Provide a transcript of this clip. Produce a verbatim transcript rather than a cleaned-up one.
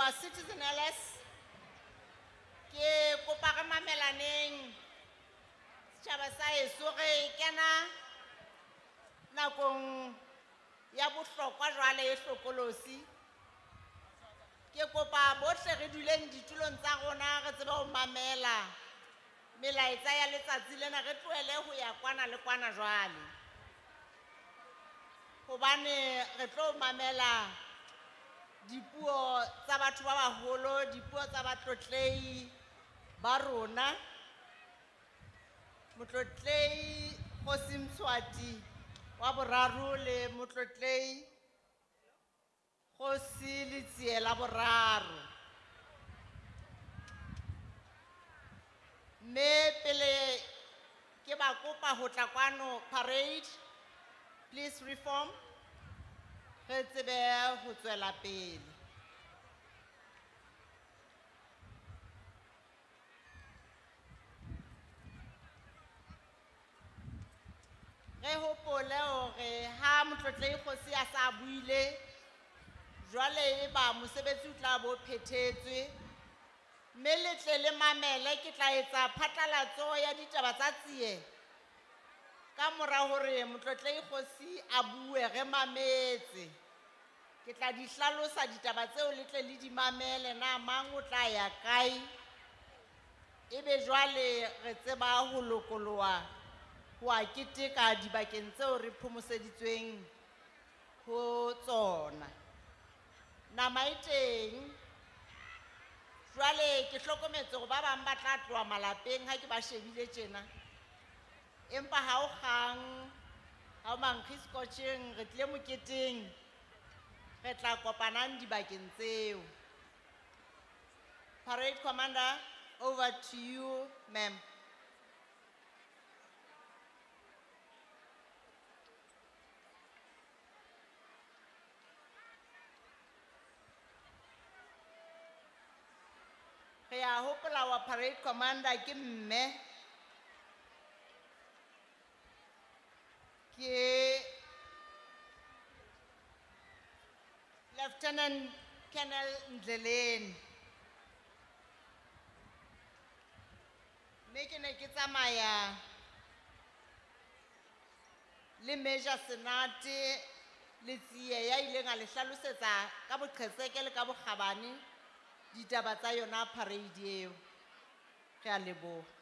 Leboha Citizen L S. Ke kopa re mamelaneng setjhaba sa heso, re kena nakong ya bohlokwa jwale e hlokolosi. Ke kopa bohle re duleng ditulong tsa rona re tsebe ho mamela melaetsa ya letsatsi lena, re tlohele ho ya kwana le kwana jwale. Hobane re tlo mamela dipuo tsa batho ba baholo, dipuo tsa batlotlehi ba rona. Motlotlehi Kgosi Mswati wa boraro le motlotlehi Kgosi Letsie la boraro. Mme pele ke ba kopa ho tla kwano parade, please reform, re tsebe ho tswela pele. Re hopole hore ha motlotlehi Kgosi a sa buile, jwale e ba mosebetsi o tla bo phethetswe. Mme le tle le mamele, ke tla etsa phatlalatso ya ditaba tsa tsie ka mora hore motlotlehi Kgosi a bue, re mametse. Ke tla di hlalosa ditaba tseo, le tle le di mamele, na mang o tla ya kae. Ebe jwale re tseba ho lokoloha ho a keteka dibakeng tseo re phomoseditsweng ho tsona. Nama e teng. Jwale ke hlokometse hore ba bang ba tla tloha malapeng ha ke ba shebile tjena. Empa ha o kgang, ha o mankgi scotcheng, re tlile moketeng, re tla kopanang dibakeng tseo. Parade Commander, over to you, ma'am. Re a hopola wa parade commander ke mme, ke Lieutenant Colonel Ndleleni. Mme ke ne ke tsamaya le Major Senate le Tsie ya ileng a le hlalosetsa ka boqhetseke le ka bokgabane ditaba tsa yona parade eo. Re a leboha.